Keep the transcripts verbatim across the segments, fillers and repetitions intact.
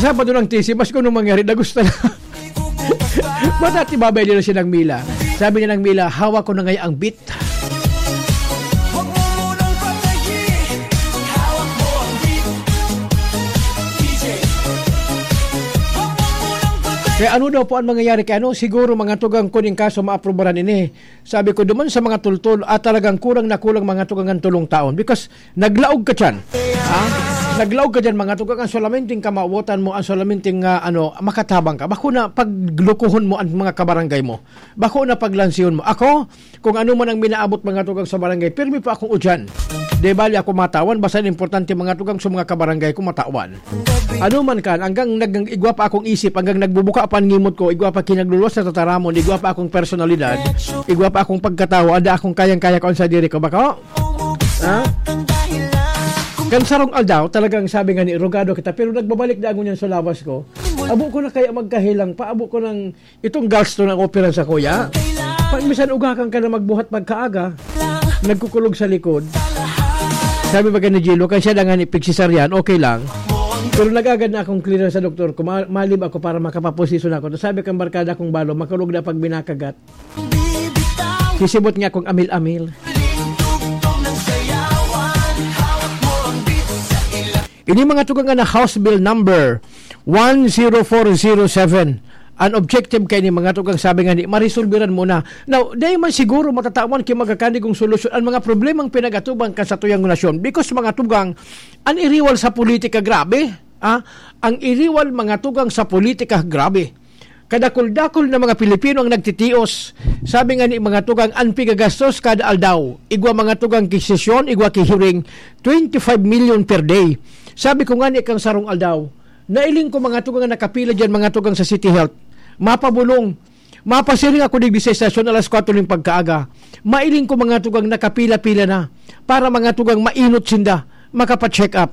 Sabado ng T C, mas kung anong mangyari, dagusta na. Matati babay nila si Nang Mila. Sabi ni Nang Mila, "Hawak ko na ngayon ang beat." Kaya ano daw po ang mangyayari kay ano? Siguro, mga tugang, kuning kaso maaprubaran ini. Sabi ko, duman sa mga tultol, at talagang kurang na kulang, mga tugang, ang tulong taon. Because naglaog ka dyan. Ha? Naglaog ka dyan, mga tugang, ang solamente kamawotan mo, ang solamente nga, ano, makatabang ka. Bako na paglukuhon mo ang mga kabarangay mo. Bako na paglansihon mo. Ako, kung ano man ang minaabot, mga tugang, sa barangay, pirmi po akong udyan. Di bali ako matawan, basta importante, mga tugang, sa mga kabarangay ko matawan. Ano man kan, hanggang nag-, igwa pa akong isip, hanggang nagbubuka pa ang ngimot ko, igwa pa kinagluluwas sa tataramon, igwa pa akong personalidad, igwa pa akong pagkatawo, ada akong kayang-kaya ko ang sadiri ko. Bako? Ha? Kan sarong aldaw, talagang sabi nga ni, "Rogado kita," pero nagbabalik na ako niyan sa lawas ko. Abo ko na kaya magkahilang pa, abo ko nang itong gasto ng opera sa kuya. Pag misan ugakan ka na magbuhat pagkaaga, nagkukulog sa likod. Sabi ba ni Jilo, "Kaya siya na nga ni pigsisaryaan, okay lang." Pero nagagad na akong clearance sa doktor ko, ma-, malib ako para makapaposisyon ako. Sabi kang barkada kong balo, makulog na pag binakagat. Sisibot nga akong amil-amil. Ini mga tugang na House Bill number one zero four zero seven. An objective kay ni mga tugang sabi nga ni, maresolbiran mo na. Now, dai man siguro matatawan ki magkakanigong solusyon ang mga problemang pinag-atubang kan satuyang nasyon. Because mga tugang, an iriwal sa politika, grabe. Ah, ang iriwal mga tugang sa politika, grabe. Kadakul-dakul na mga Pilipino ang nagtitios. Sabi nga ni mga tugang, an pigagastos kada aldaw. Igwa mga tugang ki sesyon, igwa ki hearing, twenty-five million per day. Sabi ko nga ni kang sarong aldaw, nailing ko mga tugang nakapila dyan, mga tugang sa City Health. Mapabulong. Mapasiring ako digdi sa estasyon alas kwatro ning pagkaaga. Mailing ko mga tugang nakapila-pila na para mga tugang mainot sinda, makapa-check up.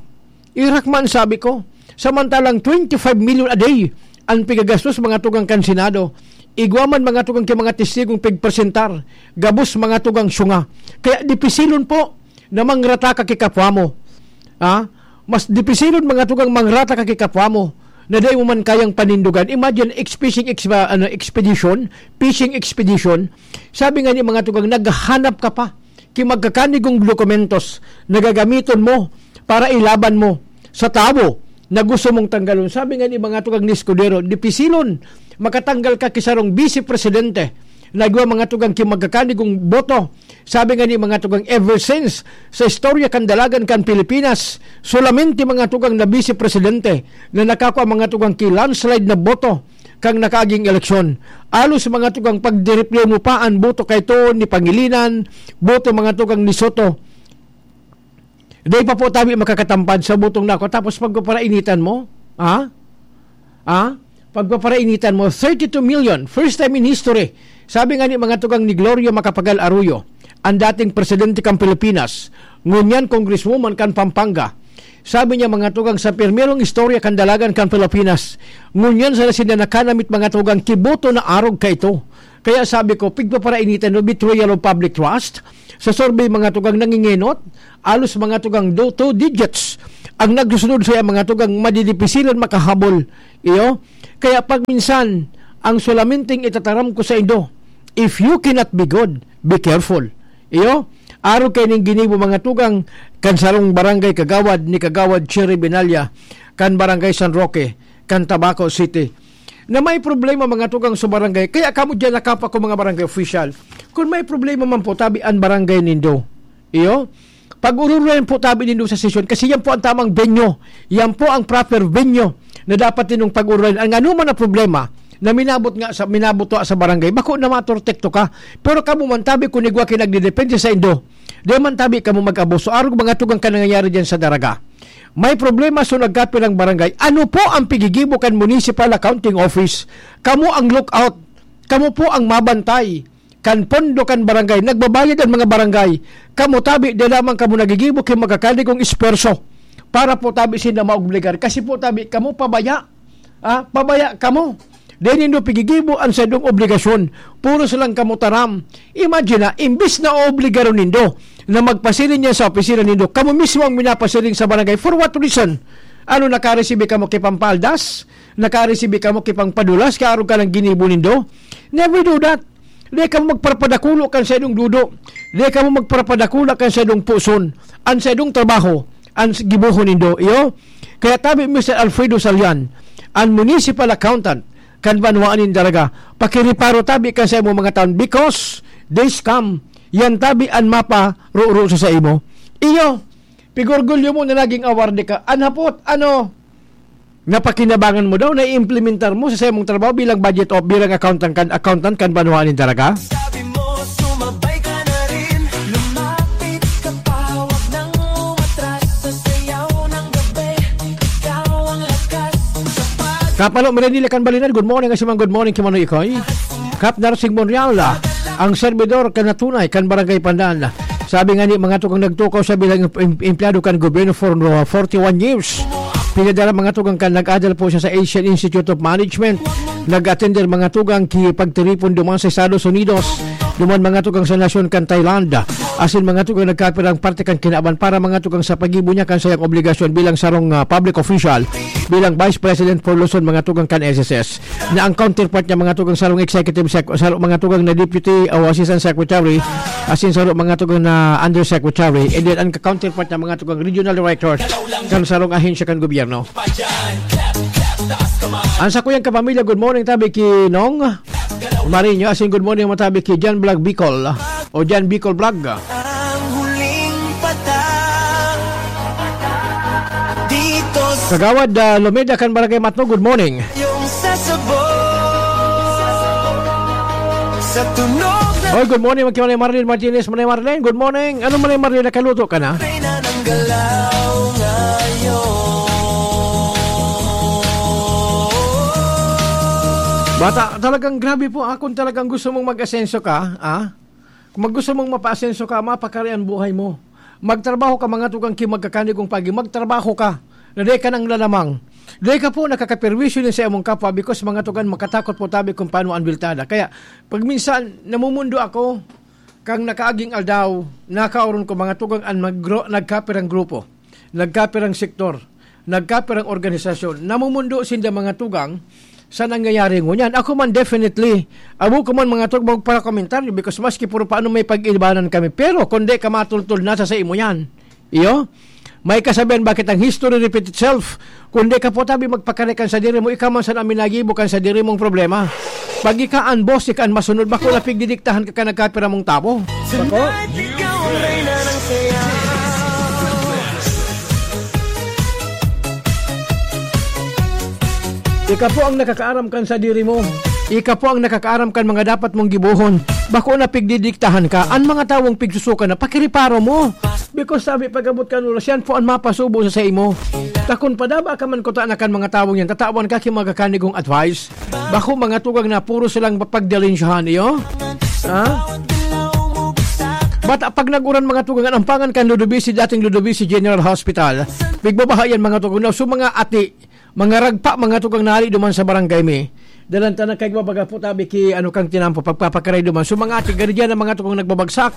Irak man, sabi ko. Samantalang twenty-five million a day an pigagastos mga tugang kan Senado. Igwa man mga tugang ki mga testigong pigpresentar. Gabos mga tugang syunga. Kaya dipisilon po na mangrata ka ki kapwa mo. Ha? Mas dipisilon mga tugang mangrata ka ki kapwa mo na dai mo man kayang panindugan. Imagine, ex-, fishing ex-, ano, expedition, fishing expedition. Sabi nga ni mga tugang, naghahanap ka pa ki magkakanigong dokumentos na gagamiton mo para ilaban mo sa tawo na gusto mong tanggalon. Sabi nga ni mga tugang ni Escudero, dipisilon makatanggal ka ki sarong vice presidente na igwa mga tugang ki magkakanigong boto. Sabi nga ni mga tugang, ever since sa istorya kan dalagan kan Pilipinas, solamente mga tugang na vice presidente na nakakua mga tugang ki landslide na boto kan nakaaging eleksyon. Alos mga tugang pagdiriplay mo pa an boto kay to ni Pangilinan, boto mga tugang ni Soto. Dai pa po tabi makakatampad sa botong nako, tapos pagpaparainitan mo? Ha? Ha? Pagpaparainitan mo, thirty-two million, first time in history. Sabi nga ni mga tugang ni Gloria Macapagal Arroyo, ang dating presidente kan Pilipinas, ngunyan congresswoman kan Pampanga. Sabi niya, mga tugang, sa pirmerong istorya kan dalagan kan Pilipinas, ngunyan sa sinda nakanamit mga tugang kiboto na arog kaito. Kaya sabi ko, pigpaparainitan no, betrayal of public trust. Sa survey, mga tugang, nangingenot, alos mga tugang do, two digits ang nagsusunod sa mga tugang madidipisilan makahabol. Iyo? Kaya pag minsan, ang sulaminting itataram ko sa indo, if you cannot be good, be careful. Iyo? Arog kay ning ginibo mga tugang kan sarong barangay kagawad ni Kagawad Cherry Binalya kan Barangay San Roque, kan Tabaco City, na may problema mga tugang sa barangay. Kaya kamo diyan nakapa ko mga barangay official. Kung may problema man po, tabi an barangay nindo. Iyo? Pag-ururan po tabi nindo sa sesyon kasi yan po ang tamang venue. Yan po ang proper venue na dapat ninyong pag-ururan. Ang anuman na problema na minabot nga sa, minabot sa barangay, bako na matortekto ka. Pero kamo man tabi kung igwa kayo nagdedepende sa indo, di man tabi kamo mag-abuso. Arog mga tugang ka nangyayari dyan sa Daraga. May problema sa nagkapirang barangay. Ano po ang pigigibo kan Municipal Accounting Office? Kamo ang lookout. Kamo po ang mabantay kan pondo kan barangay. Nagbabayad ang mga barangay. Kamo tabi, di lamang kamo nagigibo kay magkakanigong esperso para po tabi sinda maobligar. Kasi po tabi, kamo pabaya. Ah, pabaya kamo. Di nindo pigigibo ang saindong obligasyon. Puro silang kamo taram. Imagine na, imbis na obligaron nindo na magpasiring niya sa opisina nindo, kamo mismo ang minapasiring sa barangay. For what reason? Ano, nakaresibi kamo ki pampaldas? Nakaresibi kamo ki pangpadulas, kaya arog ka ng ginibo nindo? Never do that. Di kamo magparapadakulo kan saindong dudo. Di kamo magparapadakulo kan saindong puson. An saindong trabaho, an s-, gibohon nindo, iyo? Kaya tabi, Mister Alfredo Salian, an municipal accountant, kan banwaan nin Daraga, pakiriparo tabi kan saimo mga taon, because days come, yan tabi an mapa roro sa saimo. Iyo, pigorgulyo mo na naging awardee ka. An hapot, ano, napakinabangan mo daw, naiimplementar mo sa saimong trabaho bilang budget o bilang accountant kan, accountant kan banwaan nin Daraga? Sabi mo, sumabay ka na rin, lumapit ka pa, wag nang umatras sa sayaw ng gabi. Ikaw ang lakas, sapat. Kapalo, Miranila kan Balinan, good morning, Asimang, good morning, Kimanoy Ikoy. Kap Narsing Monreal, ang servidor kan natunay kan Barangay Pandan. Sabi nga ni mga tukang nagtukaw sa bilang em-, empleyado kan gobyerno for, uh, forty-one years. Pinadala mga tugang kan nag-adal po siya sa Asian Institute of Management. Nag-attender mga tugang ki pagtiripon duman sa Estados Unidos. Duman mga tugang sa nasyon kan Thailand. Asin mga tugang nagkapirang parte kan kinaban para mga tugang sa pagibo niya kan sayang obligasyon bilang sarong, ah, public official, bilang Vice President for Luzon, mga tugang kan S S S. Na ang counterpart niya, mga tugang sarong executive sec-, sarong mga tugang na deputy o assistant secretary, asin sarong mga tugang na undersecretary, and then ang counterpart niya, mga tugang regional director kan sarong ahensya kan gobyerno. Ang sakuyang kapamilya, good morning, tabi ki Nong Marinho, asin good morning, matabi ki Jan Vlog Bicol, o Jan Bicol Vlog. Ang huling patang dito sa Kagawad, ah, Lomeda kan Barangay Matno, good morning. Yung sasabog sa tunog na Oy, good morning, Manay Marlene Martinez, Manay Marlene, good morning. Ano, Manay Marlene, nakaluto ka na? Reyna ng galaw ngayon. Bata, talagang grabe po, ah, kung talagang gusto mong mag-asenso ka, ah, kung mag-, gusto mong mapaasenso ka, mapakari ang buhay mo. Magtrabaho ka, mga tugang ki magkakanigong pagi. Magtrabaho ka. Na di ka nang lalamang. Di ka po nakakaperwisyo din sa imong kapwa because mga tugang makatakot po tabi kung paano ang biltada. Kaya, pag minsan, namumundo ako, kang nakaaging aldaw, nakaoron ko mga tugang an magro-, nagkapirang grupo, nagkapirang sektor, nagkapirang organisasyon, namumundo sinda mga tugang sa nangyayari ngunyan. Ako man, definitely, abo ko man mga tugang magparakomentaryo because maski puro paano may pag-ibanan kami. Pero kung di ka matultol, nasa sa imo yan. Iyo? May kasabihan, bakit ang history repeat itself? Kung di ka po tabi magpakarikan sa diri mo, ikaw man sana minagibo kan sa diri mong problema. Pag ika an boss, ika an masunod, bako na pigdidiktahan ka ka nagkapira mong tawo. Bako? Tonight, ikaw ang reyna ng saya. Ika po ang nakakaaram kan sa diri mo. Ika po ang nakakaaram kan mga dapat mong gibohon. Bako na pigdidiktahan ka. An mga tawong pigsusukan na, pakiriparo mo. Because sabi, pag-abot kan oras, yan po an mapasubo sa saimo. Takon padaba ka man kuta na kan mga tawong yan, tatawan ka ki mga kanigong advice. Bako mga tugang na puro silang pagdalensyahan iyo. Ha? Bata, pag nag-uran mga tugang, an ampangan kan Ludovisi, dating Ludovisi General Hospital. Pigbabaha yan mga tugang na. So mga ati, mga ragpa, mga tugang nali duman sa barangay mi. Dalan ta nagkaigwa baga po tabi ki ano kang tinampo pagpapakaray duman. So mga ati, gari diyan ang mga tugang nagbabagsak.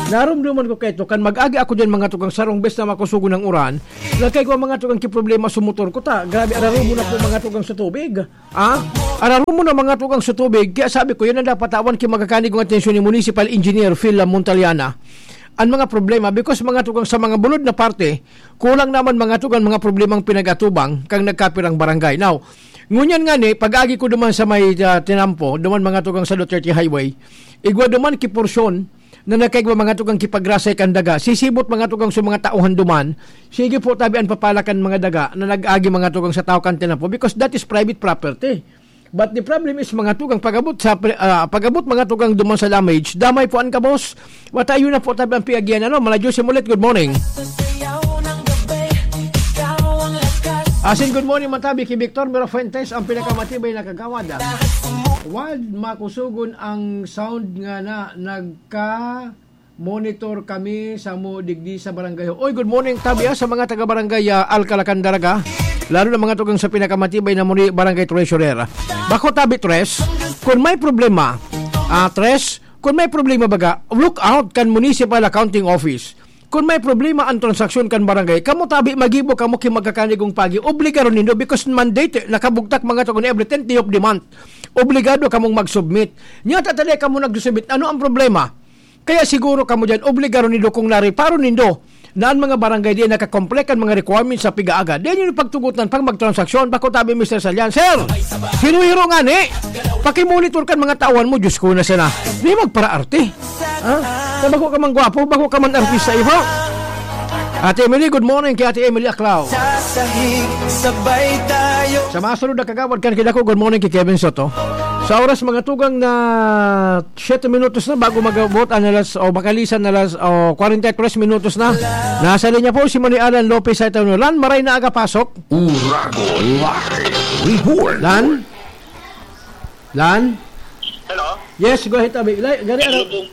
Narumduman ko kaito, kan mag-agi ako diyan mga tugang sarong bes na makusugo ng uran. Nagkaigwa mga tugang ki problema sa motor ko ta. Grabe, ararumo na po mga tugang sa tubig. Ah? Ararumo na mga tugang sa tubig. Kaya sabi ko, yan ang dapat tawan ki magkakanigong atensyon ni Municipal Engineer Phil Montaliana. Ang mga problema, because mga tugang sa mga bulod na parte, kulang naman mga tugang mga problemang pinag-atubang kang nagkapirang barangay. Now, ngunyan nga ni, pag-agi ko duman sa may, ah, tinampo, duman mga tugang sa Duterte Highway, igwa duman ki porsyon na nagkaigwa mga tugang kipagrasay kan daga. Sisibot mga tugang sa mga tauhan duman, sige po tabi an papalakan mga daga na nag-agi mga tugang sa tao kan tinampo because that is private property. But the problem is, mga tugang, pag-abot sa pre-, ah, pag-abot, mga tugang, duman sa damage, damay po an kabos. Wata, yun na po tabi ang piagian, ano? Mala Jose Mulet, good morning. Asin, good morning, matabi ki Victor Mirafuentes, ang pinakamatibay na kagawad. Wad makusugon ang sound nga na nagka monitor kami samo digdi sa barangay. Oy, good morning, tabi, ah, sa mga taga-barangay, ah, Alcalacan, Daraga. Lalo na mga tugang sa pinakamatibay na muri, barangay treasurer. Bako tabi, Tres, kung may problema, ah, Tres, kung may problema baga, look out kan Municipal Accounting Office. Kun may problema an transaksyon kan barangay, kamo tabi magibo kamo ki magkakanigong pagi, obligaron nindo because mandate, nakabugtak mga to kun every tenth day of the month. Obligado kamong mag-submit. Nya ta tali kamo nag-submit, ano ang problema? Kaya siguro kamo diyan, obligaron nindo kung nareparo nindo na an mga barangay di nakakomple kan mga requirements sa pig-aaga. Di niyo pagtugutan pag magtransaksyon, bako tabi, Mister Salian. Sir, hiru-hiro ngani, pakimonitor kan mga tauhan mo, Diyos ko na sana. Di magparaarte. Ha? Sa bako ka man gwapo, bako ka man artista, iho. Ate Emily, good morning kay Ate Emily Aclao. Sasahig, sabay tayo. Sa masunod na kagawad kan kidako, good morning kay Kevin Soto. Sa oras mga tugang na siyete minutos na bago mag-abot ang alas, o makalisan na alas, o kwarenta y tres minutos na. Nasa linya po si Manny Alan Lopez sa Itaw Lan, maray na aga pasok. Uragon Live Report. Lan? Lan? Hello? Yes, go ahead, Abi. Lai, gari, ano? Lubong,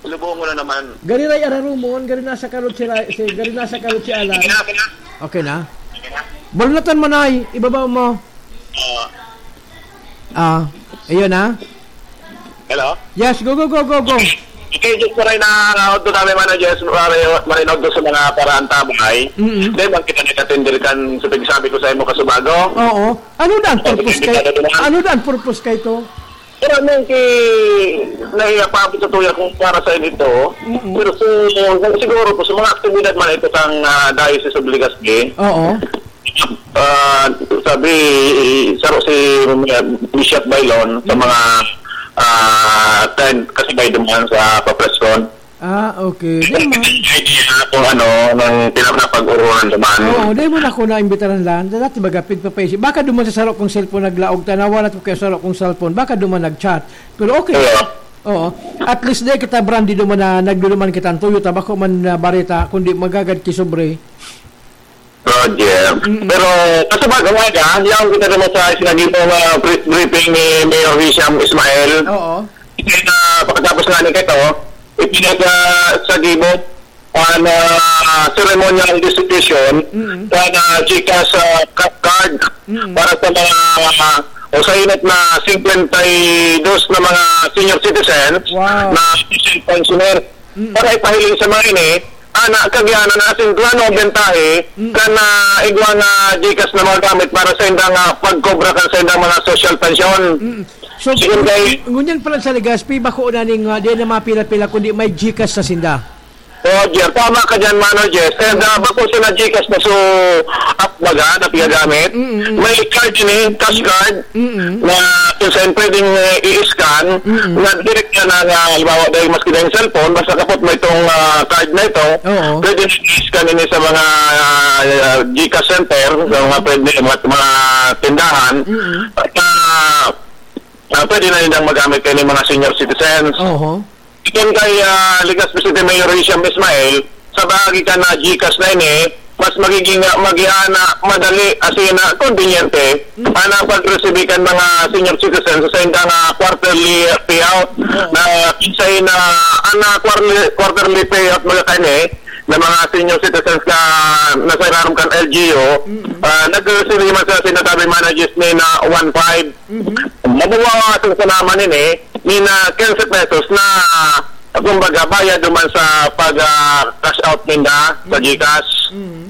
lubong mo na naman. Gari ray ararumon, gari nasa karot si Ray, si, gari nasa karot si Alan. Okay na, okay na. Okay na? Okay na? Balnatan mo, Nay. Ibabaw mo. Oo. Ah, ayun na. Hello? Yes, go, go, go, go, go. Okay, just maray na, uh, odto kami, Mano Jess, maray, maray na odto sa mga paraan tabay. Mm-mm. Dahil bang kita nagkatindir kan sa pagsabi ko sa imo kasubago? Oo. Ano na ang purpose kay, ano na ang purpose kay to? Pero ano yung ki-, nahiya pa ako sa tuya kung para sa inyo ito. Mm-mm. Pero kung, kung siguro po sa mga aktibidad man ito kang, ah, Diocese of Legazpi, Oo. ah, sabi, saro si, ah, Bishop Bailon sa Mm. mga, ah, kan-, kasabay duman sa papreskon. Ah, okay. Di man. Idea kung ano, nang pinapag-uruan naman. Oo, di mo na ako naimbitaran lang. Dati baga, pigpapaisip. Baka duman sa saro kong cellphone naglaog, tanawa na ko kaya saro kong cellphone. Baka duman nag-chat. Pero okay. Oo. Oo. At least di kita brandi duman na nagduduman kita ang Toyota. Bako man na bareta, kundi magagad ki sobre. Roger. Mm-mm. Pero, kaso ba, gumaya ka, yaon kita naman sa sinabi mo, ah, pre-, briefing ni Mayor Hisham Ismail. Oo. Kaya na, pagkatapos nga ni Keto, ipinag, ah, sa gibo, ah, na ceremonial distribution, Mm-mm. na, na GCash, ah, ca-, card Mm-mm. para sa mga, ah, usainat na cincuenta y dos na mga senior citizens Wow. na pensioner. Mm. Para ipahiling sa mga ini, ana, kagianan na asin plano ang bentahe, Mm. kan, ah, igwa na GCash na mga gamit para sa indang, ah, pagkobra kan sa indang mga social pension. Mm. So, Sige, kay ngunyan pala sa Legazpi, bako na ning, ah, di na mapila-pila, kundi may GCash sa sinda. Roger, tama ka dyan, Mano Jess. And, ah, bako siya na GCash na so, app baga, na pigagamit. Mm, mm, mm. May card ini, cash card. Mm-mm. Na kung saan pwedeng, eh, i-scan, Mm-mm. na direct ka na nga, halimbawa, dahil maski na yung cellphone, basta kapot mo itong, ah, card na ito, Oo. pwede na i-scan ini sa mga, ah, GCash center, sa mga Mm-mm. pwede, mga, mga tindahan, Mm-mm. at, ah, ah, pwede na nilang magamit kayo ng mga senior citizens. Oho. Iton kay, ah, Legazpi City Mayor Hisham Ismail, sa bahagi ka na GCash na ini, mas magiging, ah, magiana, madali, asin na konbinyente, Mm. ana pag-receive kan mga senior citizens sa indang, ah, quarterly payout Oo. na kinsay na, ana quarterly, quarterly payout mga kani, na mga senior citizens na nasa ilarom kan L G U, Mm. ah, nag-receive man sa sinasabi managers ni na one five. Mhm. Mababawasan sa naman ini, ni na quince pesos na, kumbaga, bayad duman sa pag, ah, cash out ninda sa Mm. GCash. Mm.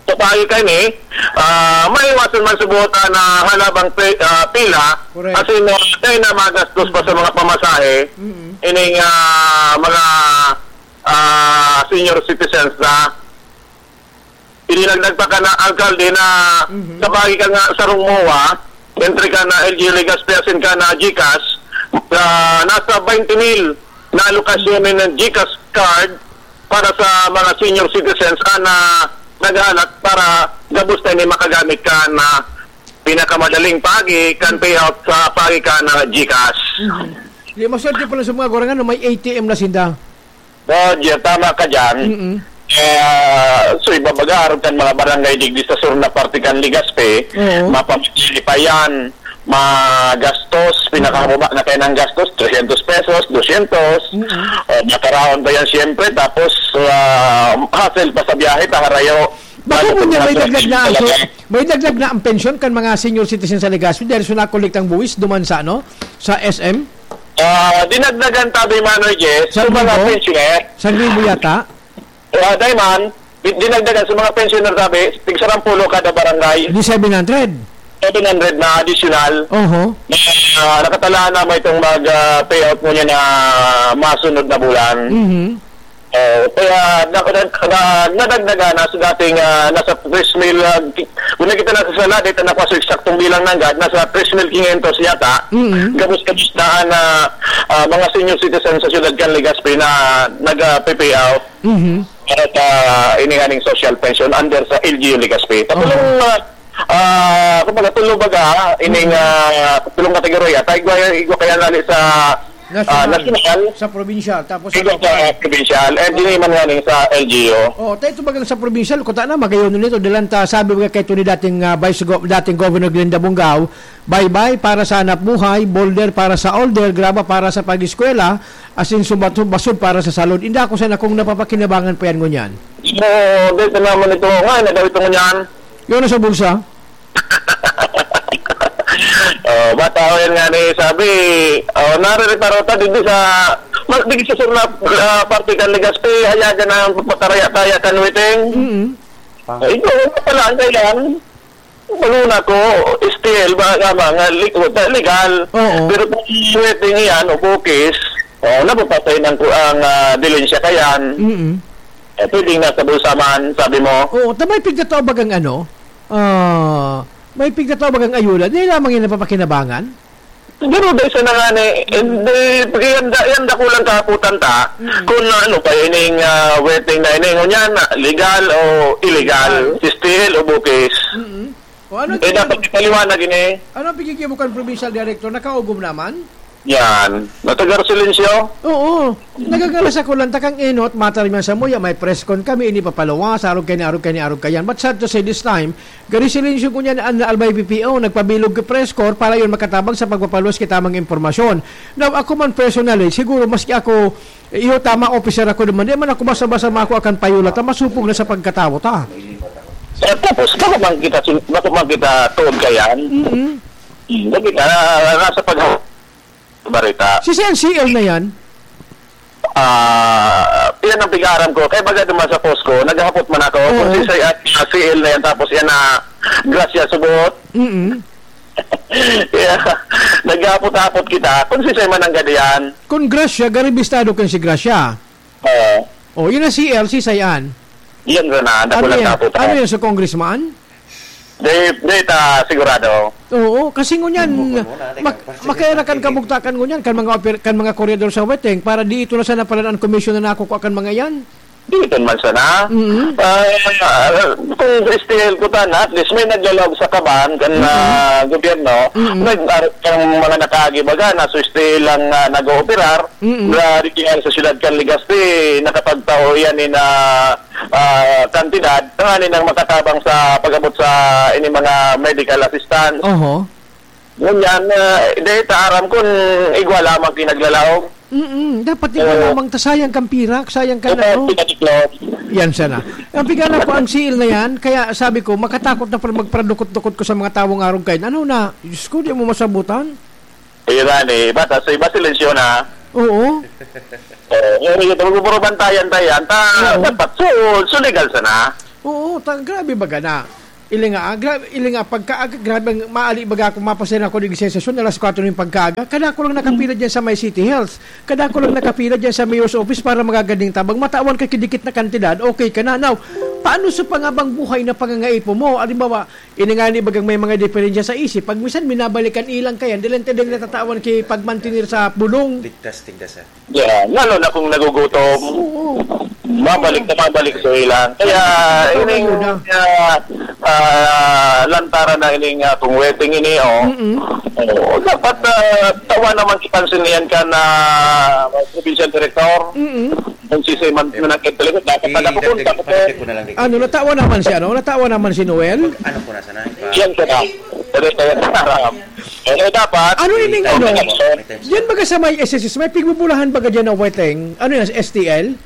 Sa payo ka ini, ah, maiwasan man sa buhatan na halabang pe-, ah, pila, Correct. asin, ah, dahil na magastos pa sa mga pamasahe, Mm. ining, ah, mga, ah, senior citizens na Idinagdag pa kan alkalde na Mhm. sa bahagi kan sarong MOA, entre kan L G U Legazpi asin kan GCash, ah, nasa twenty mil na alokasyon nin GCash card para sa mga senior citizens, ah, na naghahalat para gabos na ini makagamit kan pinakamadaling paagi kan payout sa paagi kan GCash. Mhm. Di, maswerte pala sa mga gurang, ano, may A T M na sinda. Roger, tama ka dyan. Mm-mm. Eh, ah, so, ibabaga, aron kan mga barangay digdi sa sur na parte kan Legazpi, Oo. mapamili pa yan, magastos, pinakababa na kayo ng gastos, trescientos pesos, doscientos. Mm-mm. O, makaraon pa yan, siyempre, tapos, ah, hassle pa sa biyahe, ta harayo. Bako Ano ngunyan may talaga, dagdag na ang talaga. pe-, may dagdag na ang pensyon kan mga senior citizen sa Legazpi dahil sa nakolektang buwis duman sa, ano, sa S M? Ah, dinagdagan tabi, Manoy Jess, Sa sa mga Libo? pensioner. Sa Libo yata? Ah, dai man, di-, dinagdagan sa mga pensioner, sabi, tig sarang pulo kada barangay. Di seven hundred? Seven hundred na additional. Oho. Na, ah, nakatalaan na may itong mag, ah, payout mo niya na masunod na bulan. Mhm. Oh, kaya na, na, na, nadagdagan na sa dating, ah, nasa tres mil, ah, ki-, kung nakita na sa sala, dito na sa eksaktong bilang nanggad, nasa tres mil quinientos yata. Mhm. Gabos-gabos na, na, ah, mga senior citizen sa siyudad kan Legazpi na nag, ah, pay out. Mhm. Para sa ining aning social pension under sa L G U Legazpi. Tapos Aha. yung, ah, ah, kumbaga, tulo baga, ining, Mhm. ah, tulong kategorya, ta igwa, igwa kaya nali sa, ah, National. national, Sa probinsyal, tapos igwa ano sa pa? provincial, and Ah. dini man nga ning sa L G U. Oh, tayo ito bagang sa probinsyal, kuta na, magayon nito, dalan ta, sabi baga kay Tony dating, ah, Vice Go-, dating Governor Glenda Bongao, Baybay para sa hanapbuhay, boulder para sa order, graba para sa pag-eskwela, asin sumbat-, basod para sa salud. Inda ako sana kung napapakinabangan pa yan ngunyan. Oo, dito naman ito. Nga, na daw ito ngunyan. Yun ang sa bulsa? Oh, bata ko yan nga ni sabi, oh, naririparotan din sa, ma-, di sa sur na, ah, parte kan Legazpi, hayagan na pakaraya-kaya kan Witeng. Mm-mm. Ay, ito, wala pala, ang kailangan. Baluna ko, S T L, ba, nga, nga, li-, legal. Oo. Pero kung wedding iyan o bukis, oh, napapatay ng ku-, ang, ah, dilensya kayan. Mm-mm. Eh, pwedeng nasa bulsa man, sabi mo. Oo, ta may pigkatao bagang ano, ah, may pigkatao bagang ayuda, di lamang yan napapakinabangan? Pero dahil sa nangani, hindi, yan, yan dakulang kahapotan ta, Mm. kung ano pa ining, ah, wedding na ini, ngunyan, legal o illegal, Legal. S T L o bukis. Mm-mm. O, ano ang Eh, pigigil-, dapat ipaliwanag ini. ano ang pigigil mo kan provincial director? Nakaugom naman? Yan. Natagar silensyo? Oo. Nagagalas ako lang, takang enot, matarman sa muya, may press con kami, ini papaluwas, arog kaya ni, arog kaya ni, arog kaya yan. But sad to say, this time, gari silensyo ko niyan, an Albay P P O, nagpabilog ka press corps para yun makatabang sa pagpapaluwas kita mga impormasyon. Now, ako man personally, siguro maski ako, iyo tama, officer ako naman, di man ako basta-basta mako akan payulat, masupog na sa pagkatawo ta. Eh, tapos, bako man kita, sin-, bako man kita tuod kayan. Mm-mm. Hmm, lagi ka, nasa pag-, barita. Si Sen C L na yan? Ah, yan ang pig-aaram ko. Kaya baga duman sa post ko, naghahapot man ako. Oo. Kung si Sen, ah, C L na yan, tapos yan na grasya subot. Mm-mm. Kaya, naghahapot-hapot kita. Kung si Sen man ang gadiyan. Kung grasya, garibistado kan si grasya. Oo. Oh, yun ang C L, si Sayan. Yan na, Ano nakulang yan? Tapos, Ano ah. yan sa congressman? Di, di ta sigurado. Oo, kasi ngunyan, Bukod muna, mak-, teka, makaya na kan parang kabugtakan ngunyan, kan mga oper-, kan mga koryador sa Weteng, para di ito na sana pala ang komisyon na nakukuha kan mga yan. Di ito man sana. Mm-hmm. Ah, ah, kung S T L ko ta na, at least may naglalawag sa kaban kan, Mm-hmm. ah, gobyerno, Mm-hmm. nag-, ah, ang mga nakaagi baga, na so S T L lang, ah, nag-ooperar, Mm-hmm. na di kaya sa siyudad kan Legazpi, nakapagtao yan in, ah, ah, kantidad, tanganing nang makatabang sa pag-abot sa ini mga medical assistance. Oho. Ngunyan, ah, dahil ta aram kun igwa lamang pinaglalaog. Mm-mm. Dapat igwa Oo. lamang ta, sayang kang pirak, sayang kan Oo, ano. Pinatiklop. Yan sana. Ang pigana ko ang siil na yan, kaya sabi ko, makatakot na pala magparadukot-dukot ko sa mga tawong arog kain. Ano na? Diyos ko, di mo masabutan. Ayun na, eh. Bata sa iba, silensyo na. Oo. Oo, ngayon ito, magbuburubantayan-tayan. Ta, Oo. dapat, so, so legal sana. Oo, ta, grabe baga na. Ili nga, ah, gra-, ili nga, pagkaaga, grabe ang maali baga akong mapasaya na ako ng sensasyon, alas kwatro ng pagkaaga. Kada ko lang nakapila dyan sa may City Health. Kada ko lang nakapila dyan sa Mayor's Office para magagaling tabang. Matawan ka kidikit na kantidad, okay ka na. Now, paano sa pangabang buhay na pangangaipo mo? Halimbawa, ini nga ni bagang may mga diferensya sa isip. Pag minsan, minabalikan ilang kayan, dili lang tayo natatawan ki pagmantinir sa bulong. Ligtas, tigdas, ah. Yeah, lalo na kung nagugutom. Oo. Mabalik na mabalik sa ilang. Kaya, Ito, ining, ayun na. ah, ah, lantaran na ining, ah, kung wedding ini, oh. Mm-mm. Oh, dapat, ah, tawa naman si pansin niyan ka na provincial director. Mm-mm. Kung si Simon Eh, na nagkatalikod, dapat eh, pala ko, dagdag, dapat palitan ko na lang dito. Ano, natawa naman si ano? Natawa naman si Noel? Ano po, nasa na? Yan ko na. Pwede tayo sa harap. Eh, dapat Ano ining May ano? time. May time. Diyan baga sa may S S S, may pigbubulahan baga diyan na weteng? Ano yan, S T L?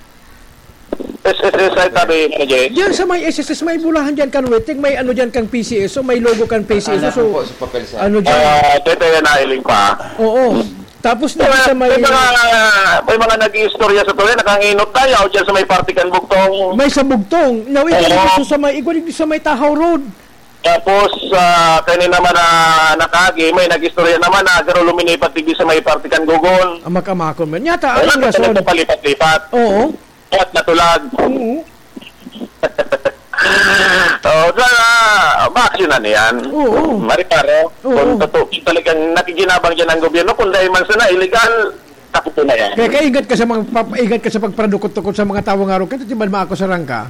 S S S ay tabi, ano, Jay? Diyan sa may S S S, may bulahan diyan kan weteng, may ano diyan kang P C S O, may logo kan P C S O. Alam So, ko po sa papel sa ano diyan? Ah, dito yan, nailing pa. Oo. Tapos May dito mga, sa may may mga, may mga nag-iistorya sa tuloy, nakanginot tayo, o dyan sa may parte kan Bugtong. May sa Bugtong. Now, ito Oo. gusto sa may, igwa digdi sa may Tahaw Road. Tapos, ah, kani naman na nakaagi, may nag-istorya naman na garo luminipat digdi sa may parte kan Gogon. Ang makamakon man. Nyata, Wala ang pa rason. Nagpapalipat-lipat. Oo. At natulag. Oo. Oo, sana maaksyonan yan. Oo. Mari pare, Oo. kung totoo, kung talagang nakikinabang dyan ang gobyerno, kung dahil man sana illegal, taputin na yan. Kaya kaingat ka sa mga pap-, ingat ka sa pagparadukot-tukot sa mga tawo nga arukan, di ba maakusaran ka?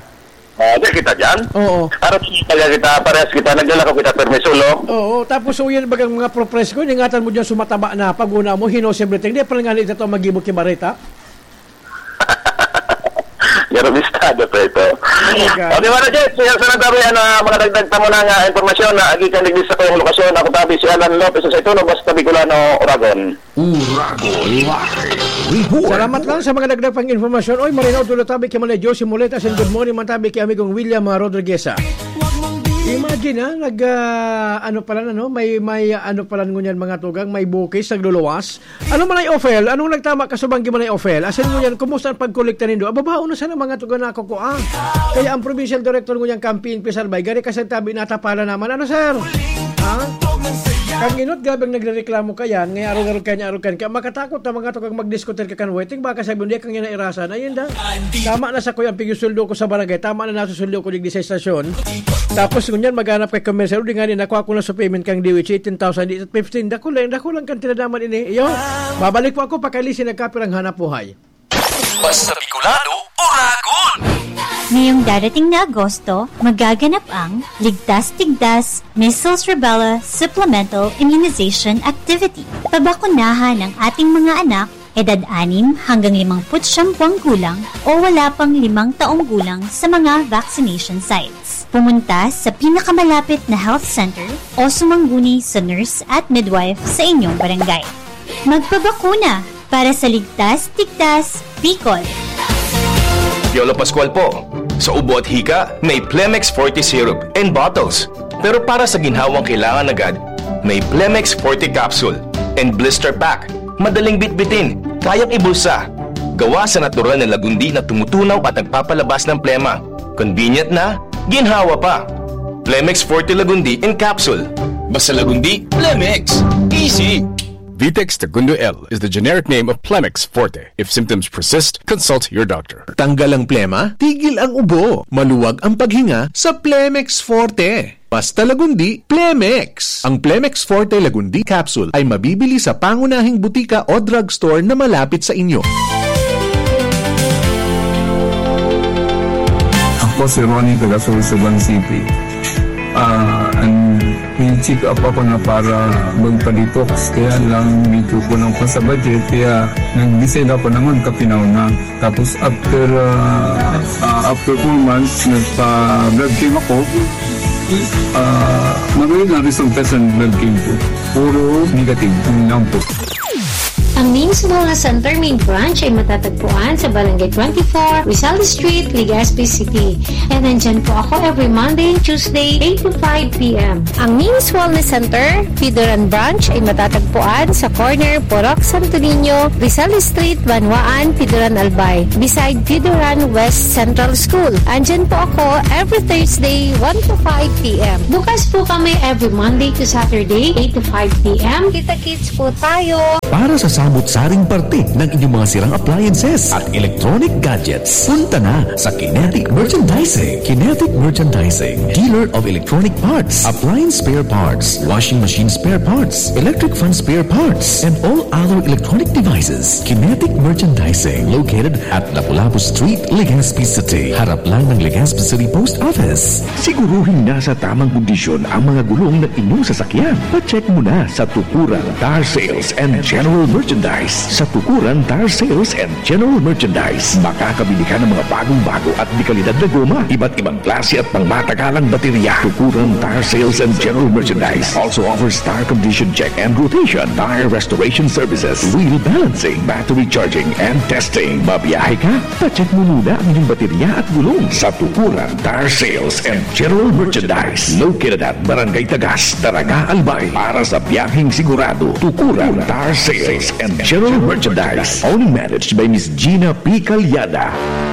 Ah, di kita dyan. Oo. Para talaga kita, parehas kita, naglalakaw kita, permi solo. Oo, tapos so yan bagang mga pro-presko, ingatan mo dyan sumataba na, pag-una mo, he knows everything. Di pa nga ito magibo ki Bareta. Garabistado pa ito. Talaga. O, di ba na, Jess? Siya sa nagsabi, ano, mga dagdag pa muna nga impormasyon na agi kan digdi sa kayong lokasyon. Ako tabi si Alan Lopez sa Ituno, basta Bicolano, Oragon. Uragon Live Report. Salamat lang sa mga dagdag pang impormasyon. Oy, marinaw tulo tabi kay Manay Josie Moleta, and good morning man tabi kay amigong William, ah, Rodriguez, ah. Imagine, ah, nag, ah, ano pala na, no? May, may, ah, ano pala ngunyan, mga tugang, may bukis, nagluluwas. Ano man ay ofel? Anong nagtama ka sa banggi man ay ofel? Asin ngunyan, kumusta ang pagkolekta nindo? Ababaon na sana mga tugang na ako ko, ah. Kaya ang provincial director ngunyan, Campaign P S R by, gari ka sa tabi, natapala naman. Ano, sir? Ha? Kang inot, gabing nagrereklamo ka yan, ngay arog-arog ka niya, arog ka niya. Makatakot na mga tugang magdiskutir ka kan waiting, baka sabi, "Hindi, kang yan na irasan." Ayun da. Tama na sa kuya, ang pigsusuldo ko sa barangay, tama na nasusuldo ko digdi sa estasyon. Tapos ngunyan, maghanap kay commercial, di nga ni nakuha ko na sa payment kang D O H, eighteen thousand, di fifteen, dako lang, dako lang kantidad naman ini. Iyo, babalik po ako, pakalisin, nagkapirang hanap buhay. Basta Bicolano, Oragon! Ngayong darating na Agosto, magaganap ang Ligtas Tigdas Measles Rubella Supplemental Immunization Activity. Pabakunahan ang ating mga anak, edad anim hanggang limangput siyam buwang gulang o wala pang limang taong gulang sa mga vaccination sites. Pumunta sa pinakamalapit na health center o sumangguni sa nurse at midwife sa inyong barangay. Magpabakuna para sa ligtas, tigtas, Bicol. Piolo Pascual po. Sa ubo at hika, may Plemex Forte Syrup and bottles. Pero para sa ginhawang kailangan agad, may Plemex Forte Capsule and Blister Pack. Madaling bitbitin, kayang ibulsa. Gawa sa natural na lagundi na tumutunaw at nagpapalabas ng plema. Convenient na, ginhawa pa. Plemex Forte Lagundi in Capsule. Basta Lagundi, Plemex. Easy! Vitex Tagundo L is the generic name of Plemex Forte. If symptoms persist, consult your doctor. Tanggal ang plema, tigil ang ubo, maluwag ang paghinga sa Plemex Forte. Basta Lagundi, Plemex! Ang Plemex Forte Lagundi Capsule ay mabibili sa pangunahing butika o drugstore na malapit sa inyo. Ako si Ronnie, taga Sorsogon City. Ah, an, may check-up ako na para magpa-detox, kaya lang medyo kulang pa sa budget, kaya nag-decide ako na magkapinaw na. Tapos after, ah, ah, after four months, nagpa-blood chem ako. Ah, magayon ang resulta sa blood chem ko. Puro negative, yun lang po. Ang Ming's Wellness Center main branch ay matatagpuan sa Barangay twenty-four, Rizal Street, Legazpi City. And nandyan po ako every Monday and Tuesday, eight to five p m. Ang Ming's Wellness Center, Pidoran Branch, ay matatagpuan sa corner Purok Santo Niño, Rizal Street, Banwaan, Pidoran, Albay, beside Pidoran West Central School. Andyan po ako every Thursday, one to five p m. Bukas po kami every Monday to Saturday, eight to five p m. Kita-kits po tayo. Para sa samot-saring parte ng inyong mga sirang appliances at electronic gadgets, punta na sa Kinetic Merchandising. Kinetic Merchandising, dealer of electronic parts, appliance spare parts, washing machine spare parts, electric fan spare parts, and all other electronic devices. Kinetic Merchandising, located at Lapu-Lapu Street, Legazpi City. Harap lang ng Legazpi City Post Office. Siguruhing nasa tamang kondisyon ang mga gulong ng inyong sasakyan. Pa-check muna sa Tukuran Tire Sales and General Merchandise. Sa Tukuran Tire Sales and General Merchandise, makakabili ka ng mga bagong-bago at dekalidad na goma, iba't ibang klase at pangmatagalang baterya. Tukuran Tire Sales and General Merchandise also offers tire condition check and rotation, tire restoration services, wheel balancing, battery charging, and testing. Babiyahe ka? Pa-check mo muna ang inyong baterya at gulong sa Tukuran Tire Sales and General Merchandise, located at Barangay Tagas, Daraga, Albay. Para sa biyaheng sigurado, Tukuran Tire Sales General Merchandise, owner managed by Miss Gina P. Calyada.